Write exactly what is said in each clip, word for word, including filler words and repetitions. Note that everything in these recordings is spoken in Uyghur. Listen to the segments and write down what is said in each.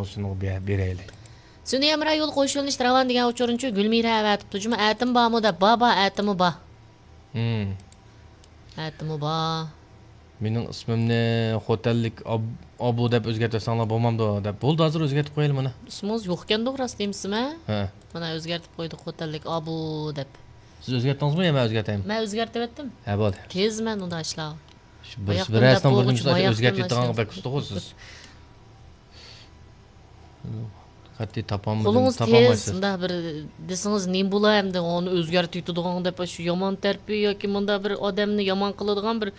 شۇنىڭغا بېرەيلى. سۈنئىي ھەمراھ يولى قوشۇلۇش راۋان دېگەن ئۇچۇرنىچۇ گۈلمىرە ئەۋەتىپتۇ جۇمۇ. ئەتىمۇ بارمۇ دەپ. بار، بار، ئەتىمۇ بار. ھىم. ئەتىمۇ بار. مېنىڭ ئىسمىمنى خوتەنلىك ئاب-، ئابۇ دەپ ئۆزگەرتىۋەتسەڭلار بولمامدۇ دەپ. بولدى، ھازىر ئۆزگەرتىپ قويايلى مانا. ئىسمىڭىز يوقكەندۇق، راست دېمىسىمە؟ ھە. مانا ئۆزگەرتىپ قويدۇق، خوتەنلىك ئابۇ دەپ. سىز ئۆزگەرتتىڭىزمۇ يا مەن ئۆزگەرتەيمۇ؟ مەن ئۆزگەرتىۋەتتىم. ھە، بولدى. تېز مەن ئۇنداق ئىشلارغا. شۇ بىرسى، باياقتىن بىرەرسىنىڭ دەپ بولغۇچە بولغۇچە ئۆزگەرتىۋېتىدىغانغا بەك ئۇستىغۇ سىز. قەتئىي تاپالمىدىم، قولىڭىز تېز، تاپالمايسىز. مۇنداق بىر دېسىڭىز نېمە بولا ئەمدى، ئۇنى ئۆزگەرتىۋېتىدىغان دەپ، شۇ يامان تەرىپى ياكى مۇنداق بىر ئادەمنى يامان قىلىدىغان بىر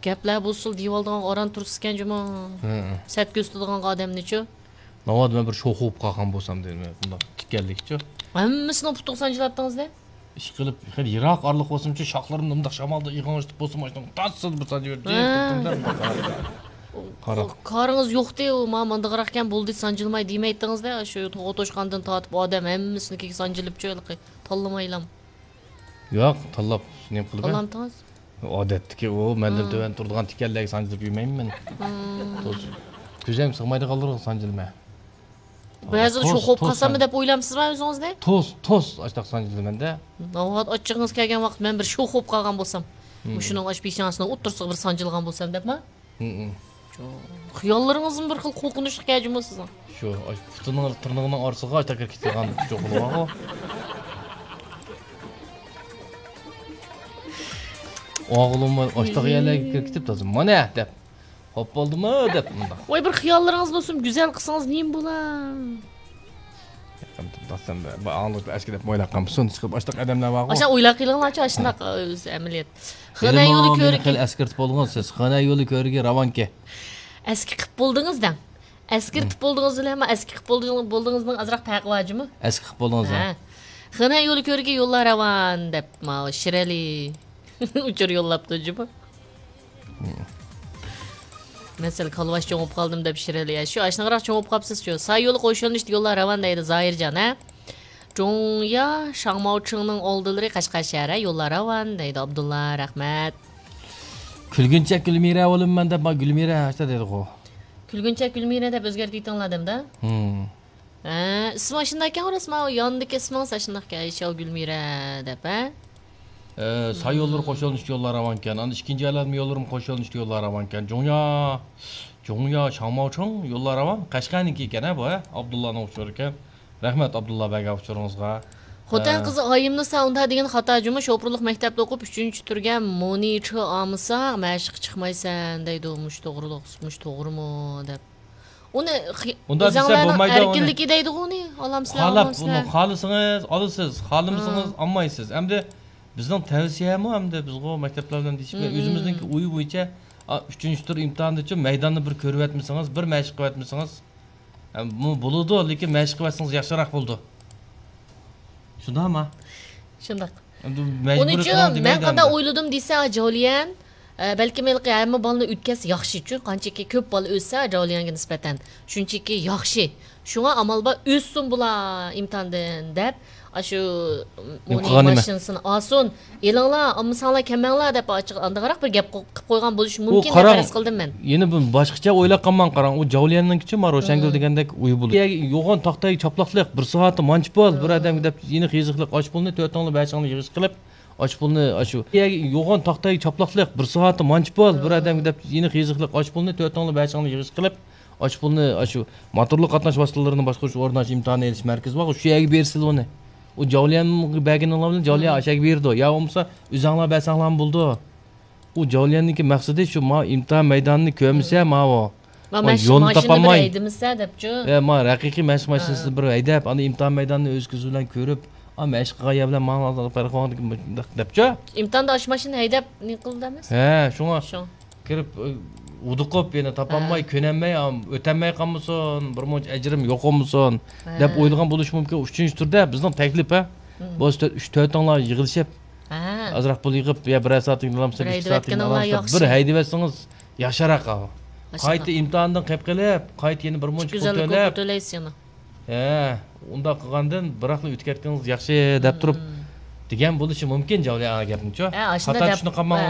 گەپلەر بولسىلا دېيىۋالىدىغان ئاران تۇرسىكەن جۇمۇ. ھە، ھە. سەت كۆرسىتىدىغان ئادەمنىچۇ. ناۋادا مەن بىر شوخ بولۇپ قالغان بولسام دەيمەن، بۇنداق تىكەنلىكچۇ. ھەممىسىنىڭ پۇتىغا سانجىل ئاتتىڭىز دە. ئىشقىلىپ، خېلى يىراق ئارىلىق بولسىمچۇ، شاخلىرىمنى مۇنداق شامالدا ئىغاڭشىتىپ بولسا، ماشىنىنى تاسسىدە بىر سانجىۋېرىپ، ھە. قاراپ. قارىڭىز يوقتى، ئۇ ما ماندىغىراقكەن، بولدى، سانجىلماي دېمەيتتىڭىز-دە، شۇ توغا توشقاندىن تارتىپ ئادەم ھەممىسىنىڭكىگە سانجىلىپچۇ، ھېلىقى تاللىمايلام. ياق، تاللاپ نېمە قىلىمەن؟ تاللامتىڭىز؟ ئادەتتىكى ئۇ مەندىن ھە. تۆۋەن تۇرىدىغان تىكەنلەرگە سانجىلىپ يۈرمەيمەن مەن. ھىم. توس. كۆزۈم سىغمايدىغانلارغا سانجىلىمەن. بەزىدە توس، شوخ بولۇپ توس قالساممۇ سان-، دەپ ئويلامسىزما ئۆزىڭىزنى؟ توس، توس، ئاشتاق سانجىلىمەن-دە. ناۋادا ئاچچىقىڭىز كەلگەن ۋاقىت مەن بىر شوخ بولۇپ قالغان بولسام، ھىم. مۇشۇنىڭ ئاش پېشانىسىنىڭ ئوتتۇرىسىغا بىر سانجىلغان بولسام دەپما؟ ھىم. چوڭ. خىياللىرىڭىزمۇ بىر خىل قورقۇنچلۇق ئىكەن جۇمۇ سىزنىڭ. شۇ، ئاش پۇتىنىڭ، تىرنىقىنىڭ ئارىسىغا ئاشتاق كىرىپ كېتىدىغان چوقۇلىغۇ. ئوغلۇم ئاشتاق يەرلەرگە كىرىپ كېتىپ تازا، مانا دەپ. خوپ بولدىمۇ دەپ مۇنداق. ۋاي، بىر خىياللىرىڭىز بولسۇن، گۈزەل قىلسىڭىز نېمە بولا؟ يېقىن تۇرۇپ، دەپ ئەسكى دەپ ئويلاپ قالمىسۇن، چىقىپ ئاشتاق ئادەملەر بارغۇ. ئاشۇ ئويلاپ قېلىڭلارچۇ، ئاشۇنداق، ھە. ئۆزى ئەمەلىيەت. خېنە يولى كۆرۈكى. خېلى ئەسكىرتىپ بولدىڭىز سىز. خېنە يولى كۆرۈكى راۋانكى. ئەسكى قىپ بولدىڭىز دەڭ. ئەسكىرتىپ ھىم. بولدىڭىز بىلەن ما ئەسكى قىپ بولدىڭىز، بولدىڭىزنىڭ ئازراق پەرقى بار جۇمۇ. ئەسكى قىپ بولدىڭىز، ھە. ھە. خېنە يولى كۆرۈكى يوللار راۋان دەپ ماۋۇ شىرئەلى ئۇچۇر يوللاپتۇ جۇمۇ. مەسىلەن، كالۋاش چوڭۇپ قالدىم دەپ شىرئەلى. شۇ ئاشۇنداقراق چوڭۇپ قاپسىز شۇ. ساي يولى قوشۇلۇشتا يوللار راۋان دەيدۇ زاھىرجان، ھە؟ جۇڭيا شاڭماۋچىڭنىڭ ئالدىلىرى قەشقەر شەھەر، ھە؟ يوللار راۋان دەيدۇ ئابدۇللا، رەھمەت. كۈلگۈنچەك گۈلمىرە بولىمەن دەپ، ما گۈلمىرە ھەشتا دەيدىغۇ. كۈلگۈنچەك گۈلمىرە دەپ ئۆزگەرتىۋېتىڭلار دەمدە. ھىم. ھە، ئىسمى ئاشۇنداكەن، راست، ماۋۇ ياندىكى ئىسمىڭىز ئاشۇنداقكەن، ئايشەو گۈلمىرە دەپ، ھە؟ ئە، ساي يوللىرى قوشۇلۇشتا يوللار راۋانكەن. ئاندىن ئىككىنچى ئايلانما يوللىرىمۇ قوشۇلۇشتا يوللار راۋانكەن. جۇڭيا، جۇڭيا شاڭماۋچىڭ يوللار راۋان. قەشقەرنىڭكى ئىكەن، ھە، بۇ، ھە؟ ئابدۇللانىڭ ئۇچۇرى ئىكەن. رەھمەت، ئابدۇللا بەگ، ئۇچۇرىڭىزغا. خوتەن ھە. قىزى ئايىمنىسا ئۇنداق دېگىنى خاتا جۇمۇ، شوپۇرلۇق مەكتەپتە ئوقۇپ، ئۈچىنچى تۈرگە مونىچى ئالمىساق، مەشىققە چىقمايسەن دەيدۇ. مۇشۇ توغرىلىق، مۇشۇ توغرىمۇ دەپ. ئۇنى خى-، ئۇنداق دېسە ئۆزۈڭلارنىڭ بولمايدۇ ئۇنى. ئەركىنلىكى دەيدىغۇ ئۇنى. ئالامسىلەر، خالاپ، ئالامسىلەر. ئۇنى خالىسىڭىز ئالىسىز، خالىمىسىڭىز ھە. ئالمايسىز. ئەمدى بىزنىڭ تەۋسىيەمۇ ئەمدى بىزغۇ مەكتەپلەر بىلەن دېيىشىپ، مم. ئۆزىمىزنىڭكى ئويى بويىچە، ئا، ئۈچىنچى تۈر ئىمتىھاندىچۇ مەيداننى بىر كۆرۈۋەتمىسىڭىز، بىر مەشىق قىلىۋەتمىسىڭىز، ئە، بۇ بولىدۇ، لېكىن مەشىق قىلىۋەتسىڭىز ياخشىراق بولىدۇ. شۇنداقما؟ شۇنداق. ئەمدى مەجبۇرىي ئۇنىڭ ئۈچۈن قىلىڭ دېمەيدۇ مەن قانداق ئەمدى. ئويلىدىم دېسە، جاۋليەن، ئە، بەلكىم ھېلىقى ھەممە بالىنى ئۆتكەزسە ياخشىچۇ، قانچىكى كۆپ بالا ئۆتسە جاۋليەنگە نىسبەتەن، شۇنچىكى ياخشى. شۇڭا ئامال بار ئۆتسۇن بۇلار ئىمتىھاندىن دەپ، ئاشۇ ئۇنى قىلغان نېمە؟ ماشىنىسىنى ئالسۇن، ئېلىڭلار، ئالمىساڭلار كەلمەڭلار دەپ ئاچچىق ئاندىغىراق بىر گەپ قىل-، قىلىپ قويغان بولۇشى ئۇ مۇمكىن دەپ قاراڭ، پەرەز قىلدىم مەن. يەنە بىر باشقىچە ئويلاپ قالماڭ، قاراڭ، ئۇ جاۋليەننىڭكىچە ما روشەنگۈل مم. دېگەندەك ئويى بولىدۇ. يوغان تاختايگە چاپلاقلىق، بىر سائەتتە مانچە پۇل، بىر مم. ئادەمگە دەپ يەنە قىزىقلىق، ئاچ پۇلنى تۆتىڭلار بەشىڭلار يىغىش قىلىپ، ئاچ پۇلنى، ئاشۇ يوغان تاختايگە چاپلاقلىق، بىر سائەتتە مانچە پۇل، بىر مم. ئادەمگە دەپ يەنە قىزىقلىق، ئاچ پۇلنى تۆتىڭلار بەشىڭلار يىغىش قىلىپ، ئاچ پۇلنى، ئاشۇ موتورلۇق قاتناش ۋاسىتىلىرىنى باشقۇرۇش ئورنىنى ئىمتىھان ئېلىش مەركىزى بارغۇ، شۇ يەرگە بېرىسىلە ئۇنى. ئۇ جاۋليەنگە بەرگىنىڭلار بىلەن جاۋليەن مم. ئاشۇ يەرگە بېرىدۇ. يا بولمىسا ئۆزۈڭلار بەرسەڭلارمۇ بولىدۇ. ئۇ جاۋليەننىڭكى مەقسىتى شۇ، ما ئىمتىھان مەيدانىنى كۆرمىسە، مم. ماۋۇ. ما ما مەش-، يولنى ماشىنىنى بىر تاپالماي. ھەيدىمىسە دەپچۇ. ئە، ما ھەقىقىي مەشىق ھە. ماشىنىسىنى بىر ھەيدەپ، ئاندىن ئىمتىھان مەيدانىنى ئۆز كۆزى بىلەن كۆرۈپ، ئا، مەشىق قىلغان يەر بىلەن ماڭا پەرق قىلغان دەپچۇ. ئىمتىھاندا ئاشۇ ماشىنىنى ھەيدەپ نېمە قىلدى ئەمەس؟ ھە، شۇڭا شۇ. كىرىپ، ئۇدۇقۇپ، يەنە تاپالماي، ھە. كۆنەلمەي، ئا، ئۆتەلمەي قالمىسۇن، بىر مۇنچە ئەجرىم يوق بولمىسۇن، ھە. دەپ ئويلىغان بولۇشى مۇمكىن. ئۈچىنچى تۈردە بىزنىڭ تەكلىپ، ھە. مم. بۇ تۆت، ئۈچ، تۆتىڭلار يىغىلىشىپ، ھە. ئازراق پۇل يىغىپ، يا بىرەر سائەتلىك ئالامسىز، بىر ئىككى سائەتلىك ئالامسىز، بىر ھەيدىۋەتسىڭىز ياخشىراق. قايتا ئىمتىھاندىن قېلىپ قېلىپ، قايتا يەنە بىر مۇنچە پۇل تۆلەپ. ھە، ئۇنداق قىلغاندىن بىراقلا ئۆتۈپ كەتكىنىڭىز ياخشى دەپ تۇرۇپ، مم. دېگەن بولۇشى مۇمكىن، جاۋلى ئا گەپنىچۇ. ھە، خاتا چۈشىنىپ قالماڭ.